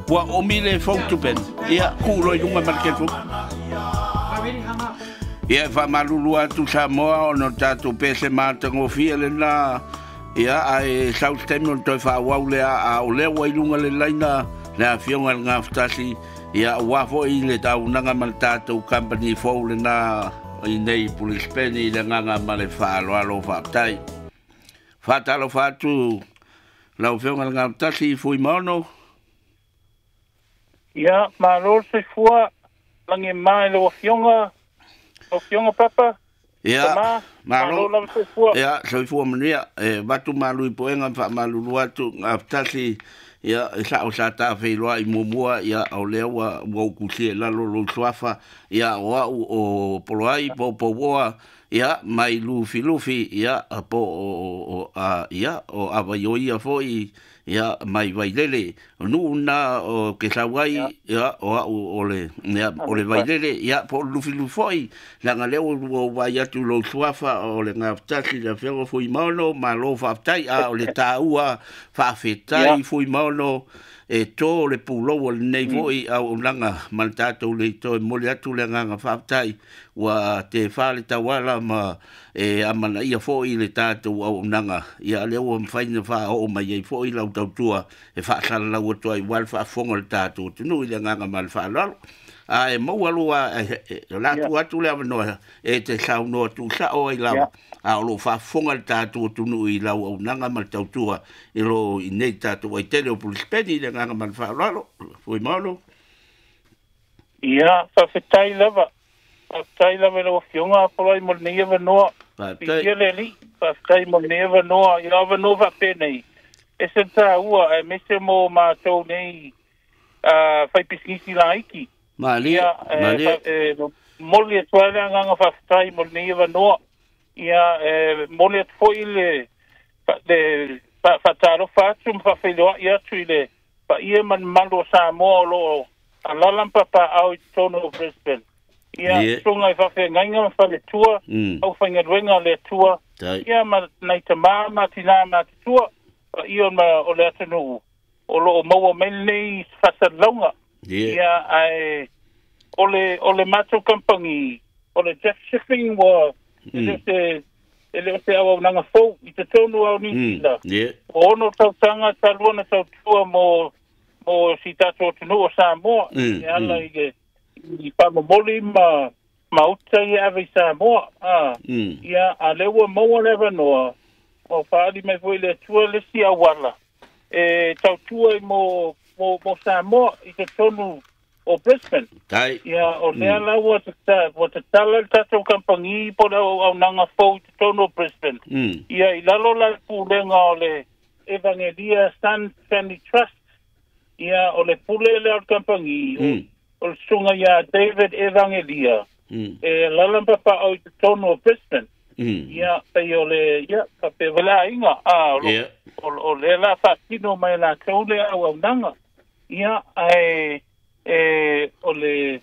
Ua omi le phone to Ben. Ia, ku loi lunga ma le telefoni. Ia, e faamalulu atu Samoa ona o tatou pese matagofie lena. Ia, ae sau se taimi ona toe faaauau lea, a o lea ua i luga le laina le afioga i le Gafatasi, ia, aua foi le auaunaga ma le tatou company fou lena i nei i Pulisipeni i le agaga ma le faaaloalo. Faafetai. Faatalofa atu lau Afioga i le Gafatasi Fuimaono. Ia, malo le soifua, lagi e ma i lau Afioga, lau Afioga Papa. Ia, malo, malo soifua. Ia, soifua manuia. E avatu malu i puega ma faamalulu atu, Gafatasi, ia, e sao sa ta feiloai muamua, ia, o lea ua ou kusia i lalo lou suafa, ia, o au o Poloai, Poupouoa, ia, mai Lufilufi, ia, po o, a, ia, o Avaioia foi, ia, mai Vailele. O nuu na o ke sau ai, ia, o au o le, ia, o le Vailele, ia, po o le Lufilufi foi, leaga lea ua ou vaai atu i lou suafa o le Gafatasi, le Afioga Fuimaono, malo faafetai, a o le taua faafetai Fuimaono, e to le pulou o lenei foi auaunaga ma le tatou leitao e momoli atu le agaga faafetai ua tefa le tauala ma e amanaia foi le tatou auaunaga, ia lea ua mafai ona faaoo mai ai foi lau tautua e faasalalau atu ai aua le faafofoga o le tatou atunuu i le agaga ma le faaaloalo. A e maua lua, o le a tuu atu le avanoa e te saunoa tuusao ai lava, a o lo o faafofoga le tatou atunuu i lau auaunaga ma le tautua i lo i nei tatou aitele o Pulisipeni i le agaga ma le faaaloalo. Fuimaono. Ia, faafetai lava. Faafetai lava i lau Afioga Apolai mo lenei avanoa. Faafetai. Fiafia le Alii. Faafetai mo lenei avanoa. Ia avanoa faapenei, e se taua aemaise mo matou nei faipisinisi laiti. Malie, Ia, malie. E momoli atu ai le agaga faafetai mo lenei avanoa. Ia, e momoli atu foi le faatalofa atu ma faafeiloai atu i le paia ma le mamalu o Samoa o lo o alala ma papaau i totonu o Brisbane. Ia, susuga i faafeagaiga ma faletua, aufaigaluega a le Atua, ia ma nai tama ma tinā matutua, paia o le atunuu o lo o maua mai lenei faasalalauga. Ia, ae o le matou kamupani, o le Jeff Shipping, ua e le o se auaunaga fou i totonu o Niu Sila. Ua 6 tausaga talu ona tautua mo si tatou atunuu o Samoa, e ala i le faamomoli ma uta ia ave i Samoa. Ia, a lea ua maua le avanoa, ua faaali mai foi le Atua le isi auala e tautua i mo Samoa i totonu o Brisbane. Ia, o lea la ua tatala le tatou kamupani po o le auaunaga fou i totonu o Brisbane. Ia, i lalo la le pulega o le Evangelia Sun Family Trust. Ia, o le pule lea o le kamupani, o le susuga ia David Evangelia, e alala ma papaau i totonu o Brisbane. Ia, pei o le, ia, faapea foi le aiga, o lea la faatino mai latou le auaunaga. Ia, ae o le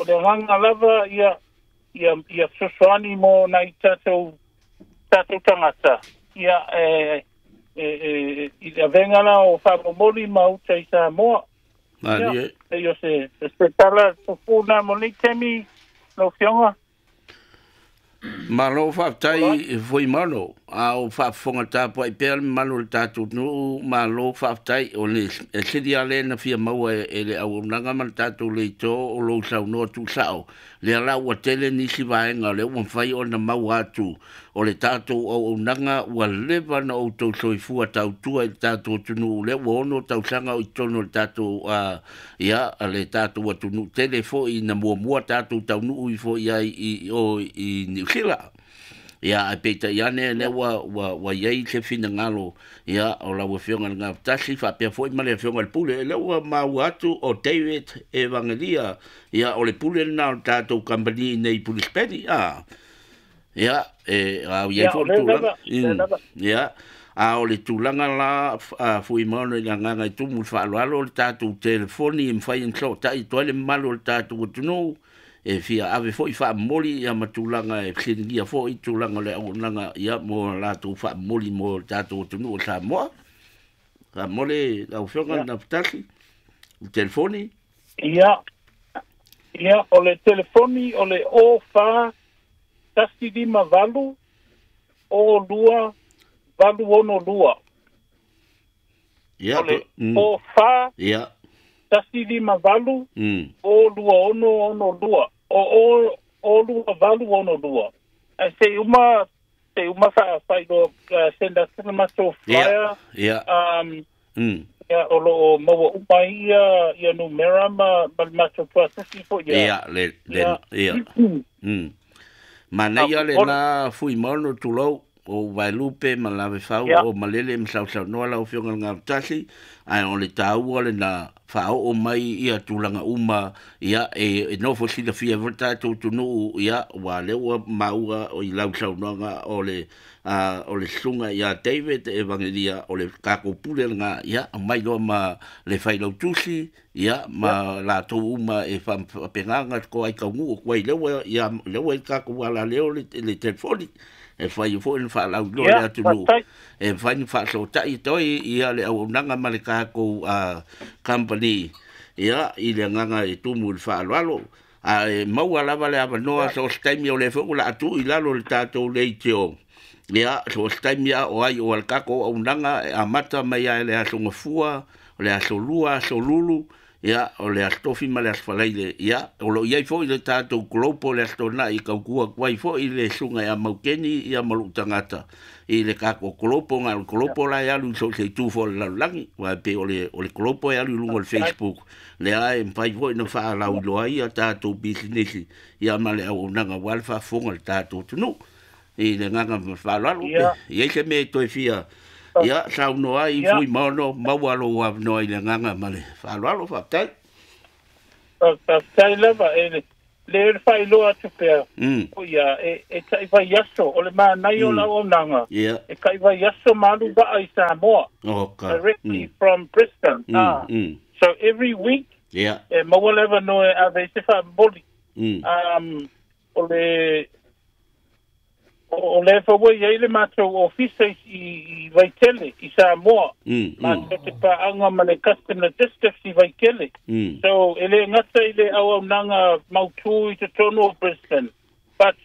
agaga lava ia fesoasoani mo nai tatou tagata, ia, i le avega la o faamomoli ma uta i Samoa. Ia, pei o se tala pupuna mo lenei taimi, lau Afioga. Malo faafetai Fuimaono, a o faafofoga tapuai pea le mamalu o le tatou nuu, malo faafetai. O le sili lava lea na fia maua e le auaunaga ma le tatou leitio o lou saunoa tuusao. Lea la ua tele nisi vaega o lea ua mafai ona maua atu o le tatou auaunaga ua leva na outou soifua tautua i le tatou atunuu, lea ua 6 tausaga o i totonu o le tatou ia, le tatou atunuu tele foi na muamua tatou taunuu ifo i ai i o i Niu Sila. Ia, ae peitai ane lea ua i ai se finagalo, ia, o lau Afioga i le Gafatasi faapea foi ma le Afioga i le Pule, lea ua maua atu o David Evangelia, ia, o le pule lena o le tatou kamupani nei i Pulisipeni. Ia, e au i ai foi le tulaga. Ia, a o le tulaga la Fuimaono i le agaga i tumu le faaaloalo o le tatou telefoni e mafai ona sootai atu ai le mamalu o le tatou atunuu e fia ave foi faamomoli ia ma tulaga e fesiligia foi tulaga o le auaunaga ia mo latou faamomoli mo le tatou atunuu o Samoa. Faamomoli lau Afioga le Gafatasi. Telefoni? Ia. Ia, o le telefoni o le 04 158 02 862. Ia, o le 04 ia 158 02662 o 02862. Ai se uma fa fa do send us the mato flyer. Ia. Ia o lo maua uma ia ia numera ma mato process fo ia. Ia le ia. Mana ia le na fui mono tulou o Vailupe ma Lavefau o Malele ma Sausaunoa lau Afioga i le Gafatasi, ae o le taua lena faaoo mai ia tulaga uma ia e nofo silafia ai foi le tatou atunuu ia ua lea ua maua i lau saunoaga o le susuga ia David Evangelia o le tatou pule lena ia aumai loa ma le failautusi ia ma latou uma e faapegaga toai taunuu atu ai lea ua ia lea ua i tatou alaleo le telefoni e fai foi na faalauiloa le atunuu e fai na faasota'i toi ia le auaunaga ma le tatou company ia i le agaga e tumu i le faaaloalo ae maua lava le avanoa so o se taimi o lea foi ua laatuu i lalo le tatou leitio ia so o se taimi a o ai o le tatou auaunaga e amata mai ai le aso Gafua o le aso Lua aso Lulu ia o le aso Tofi ma le aso Faraile ia o loo iai foi le tatou global le aso Tona'i tautua atu ai foi le susuga ia Maukeni ia ma lou tagata i le tatou global na o le global la e alu i so o se itu foi o le lalolagi aua e pei o le global e alu i luga o le Facebook lea e mafai foi ona faalauiloa ai ia tatou pisinisi ia ma le auaunaga aua le faafofoga a le tatou atunuu i le agaga faaaloalo i ai se mea e toe fia ia saunoa ai fui maono maua lou avanoa i le agaga ma le faaaloalo faafetai. Faafetai lava e le le faailoa atu pea o ia e taivai aso o le manaia o le auaunaga e taivai aso ma alu vaa i Samoa directly from Brisbane. So every week e maua le avanoa e ave ai se faamomoli o le o le fa ua iai le matou ofisa i Vaitele i Samoa matou te paaga ma le Custom Logistics i Vaitele. So e le gata i le auaunaga mautū i totonu o Brisbane but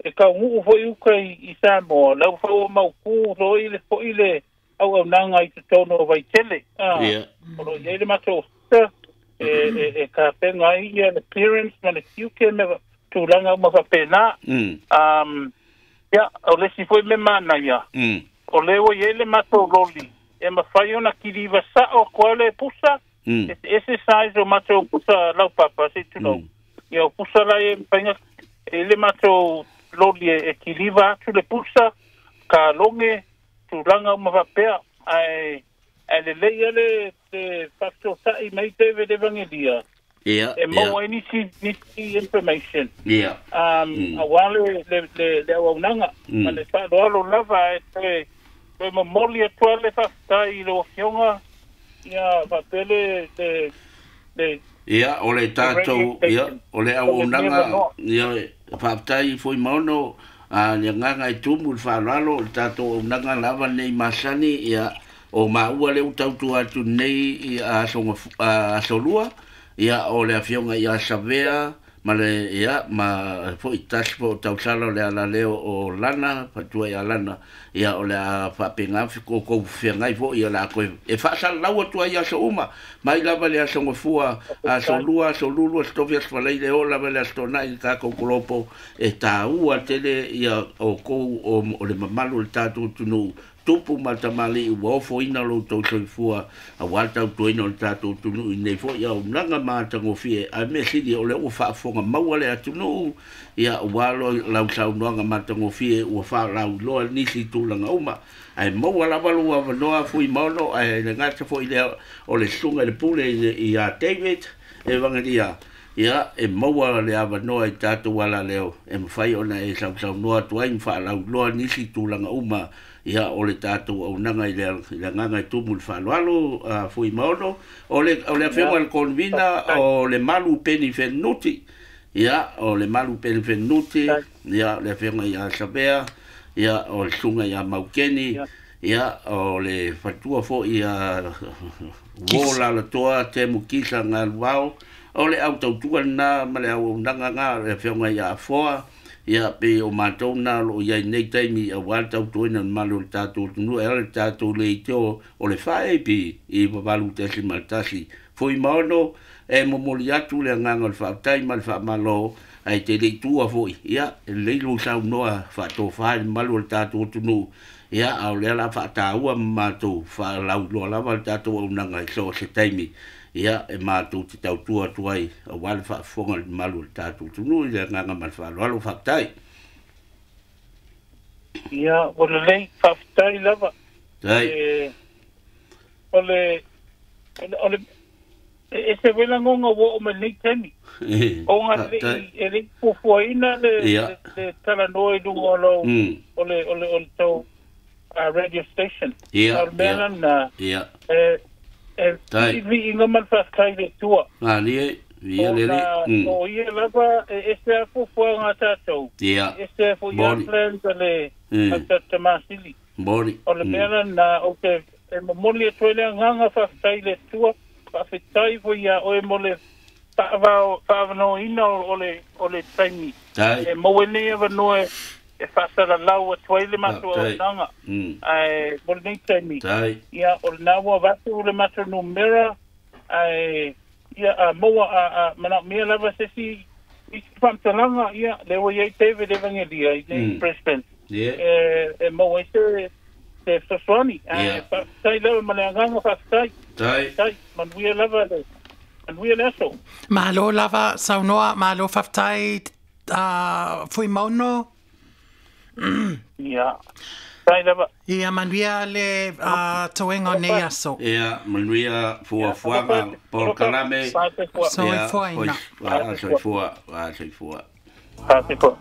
e kauguu foi uka i Samoa lau fa ua mautū loi le foi le auaunaga i totonu o Vaitele. O lo iai le matou ofisa e kapenga ai ia le clearance ma le tiute me tulaga uma faapena. Ia, o le isi foi mea manaia, o lea ua iai le matou loli, e mafai ona kiliva sa'o atu ai le pusa, eseese size o matou pusa laupapa, se i tulou. Ia, o pusa la e mafai ona e le matou loli e kiliva atu le pusa, kaloge, tulaga uma faapea, ae lelei ia le faafesota'i mai David Evangelia. Ia, e maua ai nisi information. Ia. Aua le auaunaga ma le faaaloalo lava e toe momoli atu ai le faafetai i lau Afioga ia faapea le ia o le tatou ia o le auaunaga ia faafetai foi maono le agaga e tumu i le faaaloalo o le tatou auaunaga lava nei masani ia o maua lea ua tautua atu nei i aso Lua ia o le Afioga ia Savea ma le ia ma foi tasi po o tausala o le alaleo o Lana fatua ia Lana ia o le a faapega kou feagai foi ia la koe e faasalalau atu ai aso uma mai lava le aso Gafua aso Lua aso Lulu aso Tofi aso Faraile o lava le aso Tona'i le tatou kolopo e taua tele ia o kou o le mamalu o le tatou atunuu tupu ma tamalii ua ofoina lou tou soifua aua le tautuaina o le tatou atunuu i nei foi auaunaga ma matagofie ae mea sili o lea ua faafofoga maua le atunuu ia ua lau saunoaga matagofie ua faalauiloa nisi tulaga uma ae maua lava lou avanoa fui maono ae le gata foi lea o le susuga i le pule ia David Evangelia ia e maua le avanoa i tatou alaleo e mafai ona e sausaunoa atu ai ma faalauiloa nisi tulaga uma ia o le tatou auaunaga i le agaga e tumu i le faaaloalo fui maono o le Afioga i le Convener o le Malu Peni Fenuti ia o le Malu Peni Fenuti ia o le Afioga ia Savea ia o le susuga ia Maukeni Ia, o le fatua fo'i a uo lalatoa Temu Kisa Galuao, o le au tautua lena ma le auaunaga na le afioga ia Afoa. Ia, pe o matou na o loo i ai nei taimi auā le tautuaina o le mamalu o le tatou atunuu e ala le tatou leitio o le 4AP i 8.1 Fuimaono e momoli atu le agaga o le faafetai ma le faamalo ae te le i tua foi. Ia, e lelei lou saunoa faatofa i le mamalu o le tatou atunuu. Ia, a o lea la faataua ma matou faalauiloa lava le tatou auaunaga i so o se taimi. Ia, e matou te tautua atu ai aua le faafofoga i le mamalu o le tatou atunuu i le agaga ma le faaaloalo. Faafetai. Ia, ua lelei, faafetai lava. Tai. O le, o le, e ese foi lagoga ua oo mai lenei taimi. Ona Faafetai. e le i fuafuaina le, le talanoa i luga o lou, o le, o le, o le tou radio station. Ia, A o le mea lena, e, e Tai. viiviiga ma le faafetai i le Atua. Malie, via lele. Ona o ia lava e ese a fuafuaga a tatou. E ese foi a Moni. plans a le a le Tamasili. Moni. O le mea lena ou te e momoli atu ai le agaga faafetai i le Atua, faafetai foi ia oe mo le faavanoaina o le taimi. Tai. E maua ai lenei avanoa e faasalalau atu ai le matou Faafetai. auaunaga. Ae mo lenei taimi. Tai. Ia, o lena ua avatu le matou numera, ae ia a maua a manaomia lava se isi isi faamatalaga, ia lea ua i ai David Evangelia i nei Brisbane. E maua ai se fesoasoani. Ae faafetai lava ma le agaga faafetai. Tai. Faafetai, manuia lava le manuia le aso. Malo lava saunoa, malo faafetai Fuimaono. Ia. Tai lava. Ia manuia le toega o nei aso. Ia, manuia fuafuaga polokalame. Soifuaina. Soifua, soifua, soifua. Soifua.